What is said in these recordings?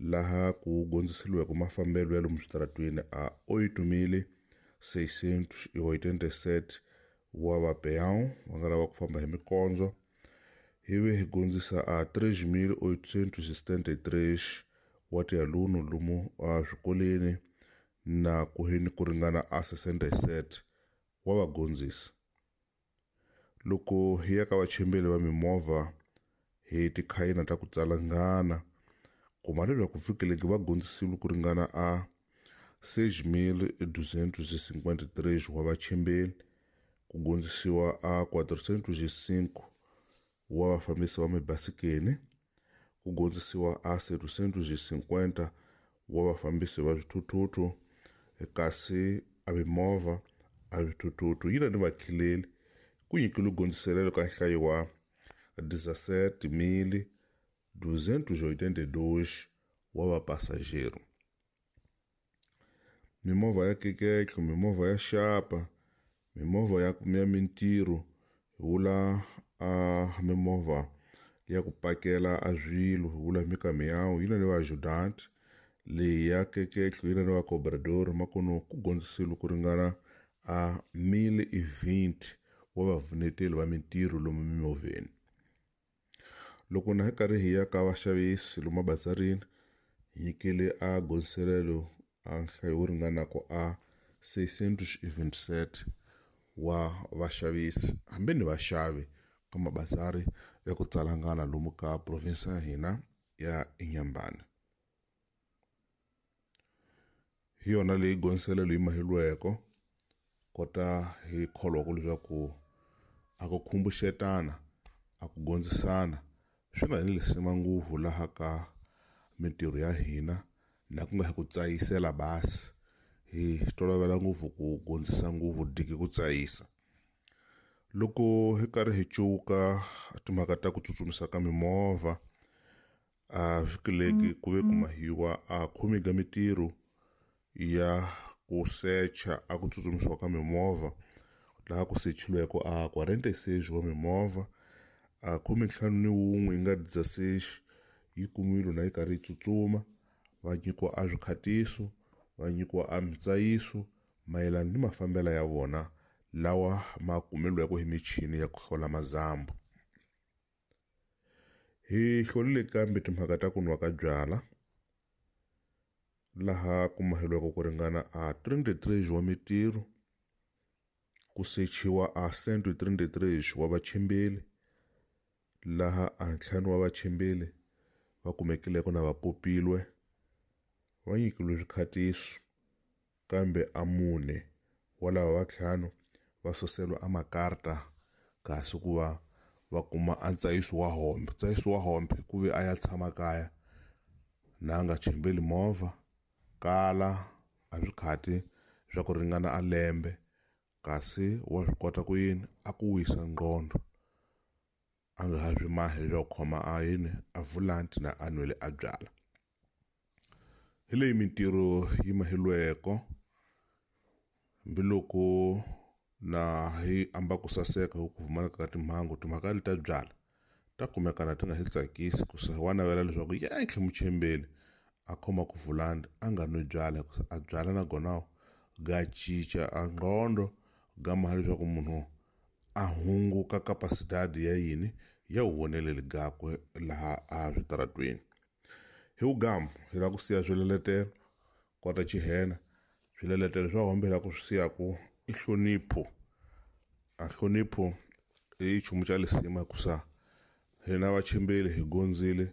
Laha ku gondziseliweke mafambelo ya lomu switaratweni a 8.687 wa vapeão va nga lava ku famba hi mikondzo, hi ve hi gondzisa a 3.873 wa tialuno lomu a swikoleni na ku hini ku ringana a 67 wa vagondzisi. Loko hi ya ka vachimbeli va mimovha hi tikhayina ta ku tsalangana, kuma leswaku vhiki va gondzisiwe ku ringana a 6.253 wa vachimbeli, ku gondzisiwa a 405 wa vafambisi va mibasikeni, ku gondzisiwa a 750 wa vafambisi va swithuthuthu, kasi a mimovha a swithuthuthu yi na ni vakhileli ku nyikiwe gondziselelo ka nhlayo wa 17.282 wa vapasajero. Mimovha ya keketlo, mimovha ya xapa, mimovha ya ya mintirho, hi vula a mimovha ya ku pakela a swilo, hi vula mikamiyawu yi na ni va-ajudante, leyi ya keketlo yi na ni va-cobrador makuno ku gondzisiwe ku ringana a 1.020 wa vavuneteli va mintirho lomu mimovheni. Loko na hi karhi hi ya ka vaxavisi lomu mabazarini, hi nyikile a gondziselelo a nhlayo wo ringanaka a 627 wa vaxavisi hambi ni vaxavi ka mabazari ya ku tsalangana lomu ka province ya hina ya Inhambane. Hi yona leyi gondziselelo yi mahilweko kota hi kholwaka leswaku a ku khumbuxetana a ku gondzisana swi na ni lisima ngopfu laha ka mintirho ya hina na ku nga hi ku tsayisela basi hi tolovela ngopfu ku gondzisa ngopfu diki ku tsayisa. Loko hi karhi hi cuka timhaka ta ku tsutsumisa ka mimovha a vhiki ku ve ku mahiwa a khume ka mintirho ya ku secha a ku tsutsumisiwa ka mimovha, laha ku sechiweke a 46 wa mimovha, a 51 yi nga 16 yi kumiwile na yi karhi yi tsutsuma, va nyikiwa a swikhatiso, va nyikiwa a mitsayiso mayelana ni mafambelo ya vona lawa ma kumeliweke hi michini ya ku hlola mazambu. Hi hlolile kambe timhaka ta ku nwa ka byala, laha ku maheliweke ku ringana a 33 wa mintirho, ku sechiwa a 133 wa vachimbeli, laha a ntlhanu wa vachimbeli va kumekileko na va popilwe, va nyikiwe swikhatiso, kambe a mune wa lava va ntlhanu va suseliwa a makarta kasi ku va va kuma a ntsayiso wa hombe. Ntsayiso wa hombe ku ve a ya tshama kaya na a nga chimbeli movha kala a swikhati swa ku ringana a lembe, kasi wa swi kota ku yini a ku wisa nqondo a nga ha swi mahi leswaku khoma a yini a vulanti na a nwele a byala. Hi leyi mintirho yi mahilweko hambiloko na hi amba ku saseka hi ku pfumaleka ka timhangu, timhaka leti ta byala ta kumeka na ti nga hi tsakisi ku se wa navela leswaku yentlhe muchembeli a khoma ku vulandi a nga nwi byala, a byala na gona ga cinca a nqondo ga maha leswaku munhu a hunguka capacidade ya yini ya woneleli gakwe laha a switaratweni. Hi vugamu hi lava ku siya swileletelo kota chihena, swileletelo swa hombe hi lava ku swi siyaku i nhlonipho. A nhlonipho i nchumu xa lisima hikusa hina vachimbeli hi gondzile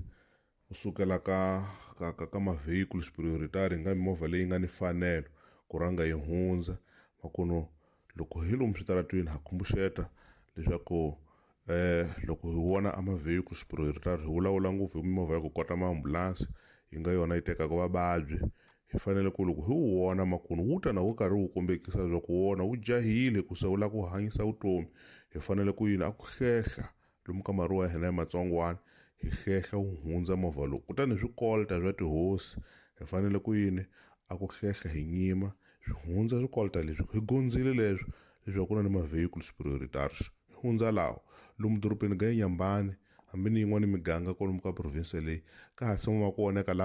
kusukela ka ma-vehicles prioritary hi nga mimovha leyi nga ni mfanelo ku rhanga yi hundza, makuno loko hi lomu switaratweni ha khumbuxeta leswaku loko hi vona a ma-vehicles prioritary hi vulavula ngopfu hi mimovha ya ku kota maambulansi yi nga yona yi tekaka vavabyi, hi fanele ku loko hi wu vona makuno wu ta na wu karhi wu kombekisa leswaku wona wu jahile ku se wu lava ku hanyisa vutomi, hi fanele ku yini a ku hlehla lomu ka maruwa ya hina ya matsongwana hi hlehla wu hundza movha lowu. Kutani swikolta swa tihosi hi fanele ku yini a ku hlehla hi nyima swi hundza swikolta leswi hi gondzile leswo leswaku ku na ni ma-vehicles prioritaries hi hundza lawo lomu dorobeni ga Inhambane hambi ni yin'wani miganga kwalomu ka province leyi ka ha tshama ku voneka.